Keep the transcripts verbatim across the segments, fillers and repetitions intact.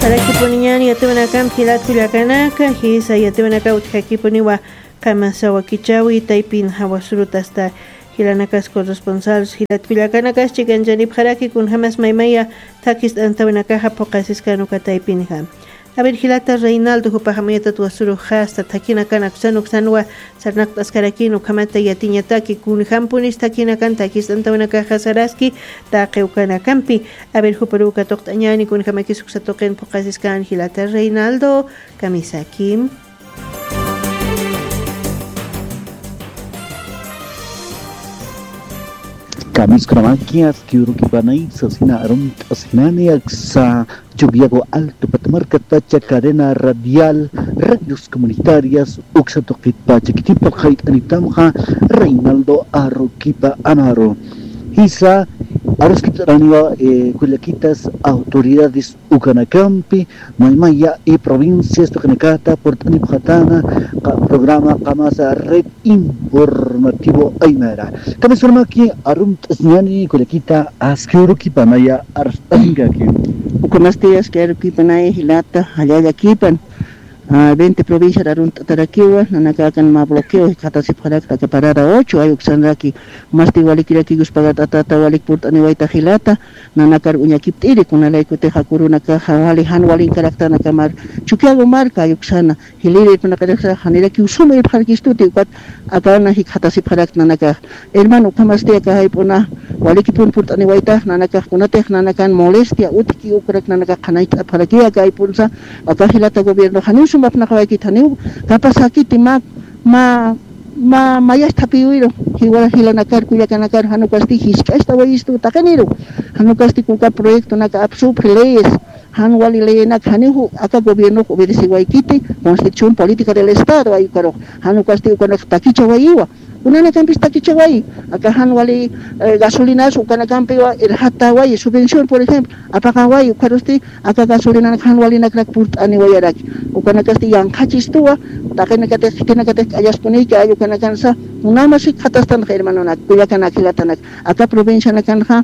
Arakipuniñan yatiwanakampi jilat kullakanaka, jisa yatiwanaka utjakipuniwa kamasa wakichawi taypin jawasurutasta jilanakas corresponsals jilat kullakanakas chikanchanipajaraki kunjamas maymaya takist'antawinakaja phuqasiskan uka taypinja. A ver, jilata Reinaldo, jupaja mayatat wasuru jasta thakinakanak sanuksanwa sarnaqt'askarakin ukhamata yatiñataki kunjampunis thakinakan takist'antawinakaja saraski taqi ukanakampi. A ver, juparuka tuqt'añani kunjamakis uksa tuqin phuqasiskan jilata Reinaldo, kamisaki. Kamiskunamaki aski urukipanay sasina arumt'asinani aksa Chukiyawu Alto Patamarkatacha cadena radial radios comunitarias uksa tuqitpacha kitipa qayt'anitamqa Reinaldo Arukipa Amaru. Jisa aruskipt'araniwa, eh, kullakitas autoridades ukanakampi maymaya y provincias tuqinakata purt'anipxatana qa-, programa qamasa red informativo aymara. Kamiskunamaki arumt'asiñani kullakita aski urukipanaya arst'asinkaki. Ukhamasti aski urukipanaya jilata jallallakipan, ah, veinte provinciar arunt'atarakiwa, nanakakan mä bloqueo jikxatasipxarakta aka parada ocho, ay uksanraki, masti walikiraki Dios pagat'atata walik purt'aniwayta jilata, nanakar uñakipt'iri, kunalaykutixa kurunakaxa wali jan walinkarakta nakamar, Chukiyawu marka ay uksana, jiliri irpnaqiriksa janirakiw suma irpxarkistuti, ukat akana jikxatasipxarakta nanakax. Hermano, ukhamasti aka jayp'una walikipun purt'aniwaytax nanakax, kunatix nanakan molestia utjki ukrak nanakax qhanayt'apxaraki aka jayp'unsa, aka jilata gobierno janiw suma apnaqawaykit, janiw kapasakiti mä, mä, mä, mayas thapiywiru, jiwa jilanakar, kullakanakar, jan ukasti jisk'astawayistu taqiniru, jan ukasti uka proyectonaka apsupxi leyes, jan wali leyenak janiw aka gobiernox obedecewaykiti, constitución política del estado ay ukarux, jan ukasti ukanak takichawayiwa, kunanakampis takichawayi, aka jan wali, eh, gasolinas ukanakampiwa irxatawayi, subvención, por ejemplo, apaqawayi, ukarusti aka gasolinanak jan walinakrak purt'aniwayaraki, ukanakasti yanqhachistuwa, taqinakatix khitinakatix k'allaskuniyki ay ukanakansa, kunamas jikxatastanxa hermanonak, kullakanak, jilatanak, aka provincianakanxa,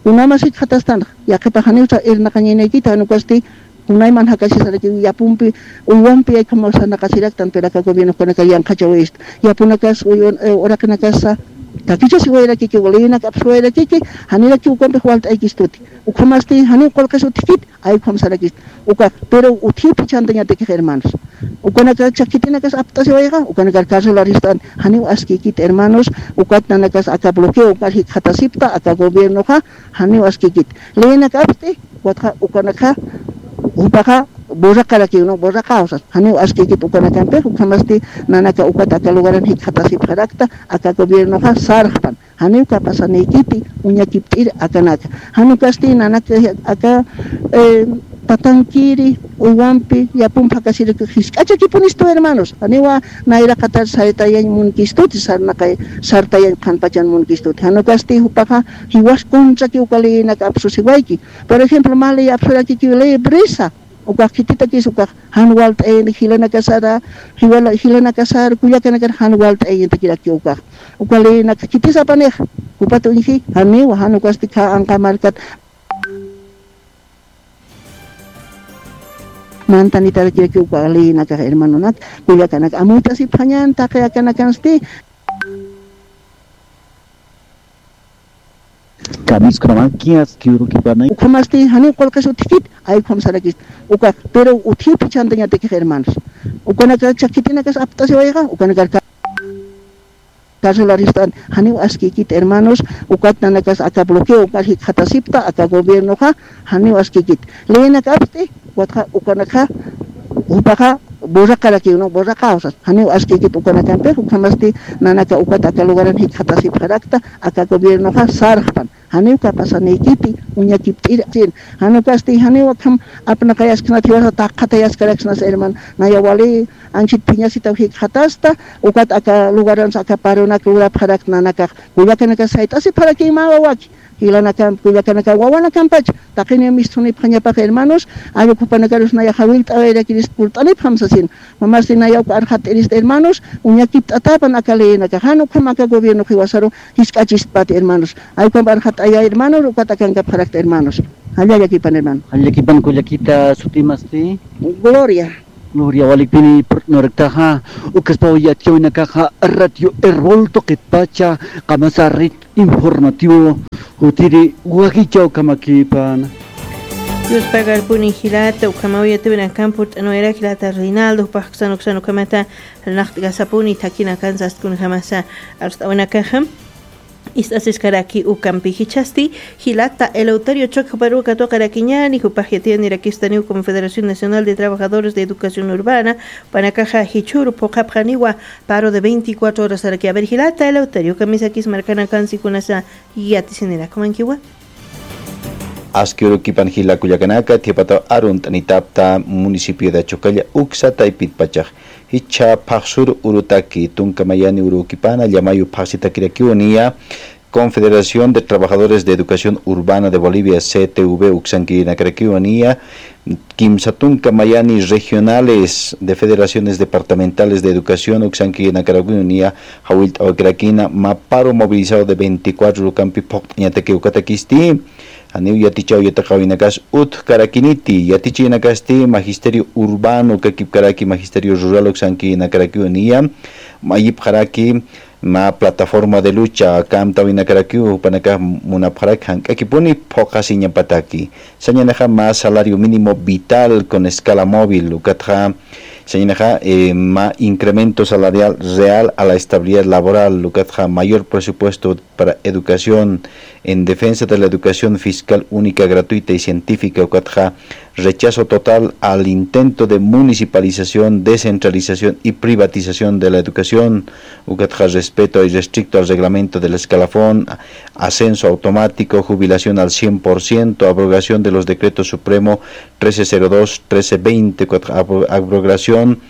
kunamas jikxatastanxa, yaqhipax janiwsa irnaqañaynaykita, jan ukasti kunayman jakasisarakiw yapumpi, uywampi, ay ukham sarnaqasiraktan, pero aka gobiernokunaka yanqhachawayistu, yapunakas, uywan, eh, uraqinakasa takichasiwayarakikiw, leyenak apsuwayarakiki, janirakiw ukampix walt'aykistuti, ukhamasti janiw qullqis utjkit, ay ukham sarakist, ukax, pero utjipi chantañatakix hermanos. Ukanaka chakitinakas apt'asiwayxa, ukanakar carcel arist'an, janiw askikit hermanos, ukat nanakas aka bloqueo ukar jikxatasipta, aka gobiernoxa, janiw askikit. Leyenak apst'i, ukatxa, ukanakxa, jupaxa, borraqarakiw, ¿no? Borraqaw sas, janiw askikit ukanakampix, ukhamasti nanaka ukat aka lugaran jikxatasipxarakta, aka gobiernoxa sarxpan. Janiw kapasanaykiti, uñakipt'iri akanaka. Jan ukasti nanaka aka, eh, patankiri, uywampi, yapumpi jakasiraki jisk'achakipunistu hermanos. Janiwa nayraqatar sartayañ munkistuti, sarnaqay, sartayañ qhanpachan munkistuti. Jan ukasti jupaxa jiwas contraki uka leyenak apsusiwayki. Por ejemplo, mä ley apsurakikiw ley brisa. Ukax khititakis ukax jan walt'ayañatak jilanakasara, jiwala-, jilanakasar, kullakanakar jan walt'ayañatakiraki ukax. Uka leyenaka khitis apanix, jupat uñji, janiwa, jan ukasti khä anqa markat mantanitarakiraki uka leyenakax hermanonak, kullakanak, amuyt'asipxañan taqi akanakansti. Kamiskunamaki aski urukipanay. Ukhamasti janiw qullqis utjkit, ay ukham sarakist. Ukax, pero utjipi chantañatakix hermanos. Ukanaka chakitinakas apt'asiwayxa, ukanakar ca-, carcel arist'an, janiw askikit hermanos, ukat nanakas aka bloqueo ukar jikxatasipta, aka gobiernoxa, janiw askikit. Leyenak apst'i, ukatxa, ukanakxa, jupaxa, borraqarakiw, ¿no? Borraqaw sas, janiw askikit ukanakampix, ukhamasti nanaka ukat aka lugaran jikxatasipxarakta, aka gobiernoxa sarxpan. Janiw kapasanaykiti, uñakipt'iri, jan ukasti, janiw akham apnaqayasknat jiwasa taqatayaskaraks nas hermano, naya wali anchhit phiñasitaw jikxatasta, ukat aka lugaransa aka paronak lurapxarakta nanakax, kullakanaka sayt'asipxarakiw mä wawaki. Jilanakampi, kullakanaka, wawanakampacha, taqiniw mist'unipxañapaxa, hermanos, allqu jupanakarus naya jawillt'awayarakiris purt'anipxam sasin. Mamasti naya uka arxat'irista, hermanos, uñakipt'atapan aka leyinakax, jan ukham aka gobierno jiwasaru jisk'achispati, hermanos. Allqump arxat'aya, hermanos, ukat akankapxarakta, hermanos. Jallalla llakipan, hermano. Jallalla llakipan, kullakita, sutimasti. Gloria. Gloria, walipini purt'aniraktaxa, ukaspaw yatichawinakaxa, Radio Erbol tuqitpacha, qamasa red informativo, jutiri wakichaw kamakipan. Dios pagarpuni jilata, ukhamaw yatiwinakamp purt'aniwayara jilata Reinaldo, jupax uksan uksan ukhamata, rnaqt'kasapuni, thakinakansast kunjamasa, arst'awinakaxa. Ist'asiskaraki ukampi jichhasti, jilata Eleuterio Choque juparuw katuqarakiñäni, jupax yatiyanirakistaniw Confederación Nacional de Trabajadores de Educación Urbana, jupanakaxa jichhüru phuqhapxaniwa paro de veinticuatro horasaraki. A ver, jilata Eleuterio, kamisakis markanakansi kunasa yatisinirakimankiwa. Aski urukipan jila kullakanaka, thiyapataw arunt'anitapta municipio de Achocalla uksa taypitpachax. Jichha phaxsur urutaki, tunka mayani urukipana, llamayu phaxsitakirakiw niya, Confederación de Trabajadores de Educación Urbana de Bolivia, C T U B, uksankirinakaraki niya, kimsa tunka mayani regionales de federaciones departamentales de educación, uksankirinakaraki niya, jawillt'awakirakina, mä paro movilizado de veinticuatro urukampi phuqt'añataki ukatakisti. Janiw yatichaw yatiqawinakas utjkarakiniti, yatichayanakasti magisterio urbano kakipkaraki, magisterio rural uksankirinakaraki niya, mayipxaraki, mä plataforma de lucha, kamtawinakarakiw, jupanakax munapxaraki, jank'akipuni phuqhasiñapataki. Sañanixa mä salario mínimo vital con escala móvil, ukatxa, sañanixa, eh, mä incremento salarial real a la estabilidad laboral, ukatxa mayor presupuesto para educación en defensa de la educación fiscal única, gratuita y científica, ukatxa rechazo total al intento de municipalización, descentralización y privatización de la educación, ukatxa respeto irrestricto al reglamento del escalafón, ascenso automático, jubilación al cien por ciento, abrogación de los decretos supremo trece cero dos, trece veinte, ukatxa abro-, abrogación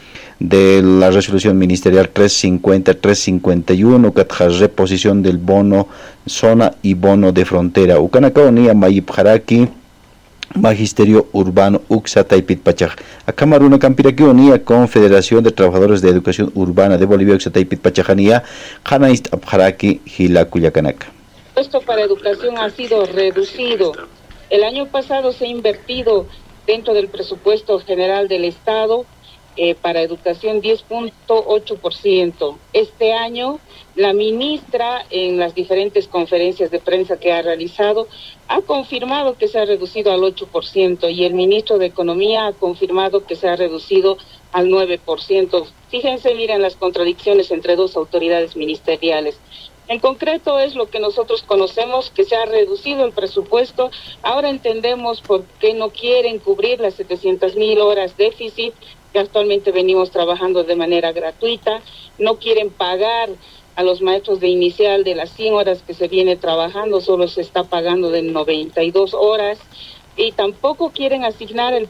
de la resolución ministerial tres cincuenta, tres cincuenta y uno, ukatxa reposición del bono zona y bono de frontera. Ukanakaw niya mayipxaraki, Magisterio Urbano uksa taypitpachax. Akham arunakampirakiw niya Confederación de Trabajadores de Educación Urbana de Bolivia uksa taypitpachaxa niya, qhanañcht'apxaraki jila kullakanaka. Esto para educación ha sido reducido. El año pasado se ha invertido dentro del presupuesto general del Estado, eh, para educación diez punto ocho por ciento. Este año, la ministra, en las diferentes conferencias de prensa que ha realizado, ha confirmado que se ha reducido al ocho por ciento y el ministro de Economía ha confirmado que se ha reducido al nueve por ciento. Fíjense, miren las contradicciones entre dos autoridades ministeriales. En concreto es lo que nosotros conocemos, que se ha reducido el presupuesto. Ahora entendemos por qué no quieren cubrir las setecientas mil horas déficit que actualmente venimos trabajando de manera gratuita. No quieren pagar a los maestros de inicial de las cien horas que se viene trabajando, solo se está pagando de noventa y dos horas. Y tampoco quieren asignar el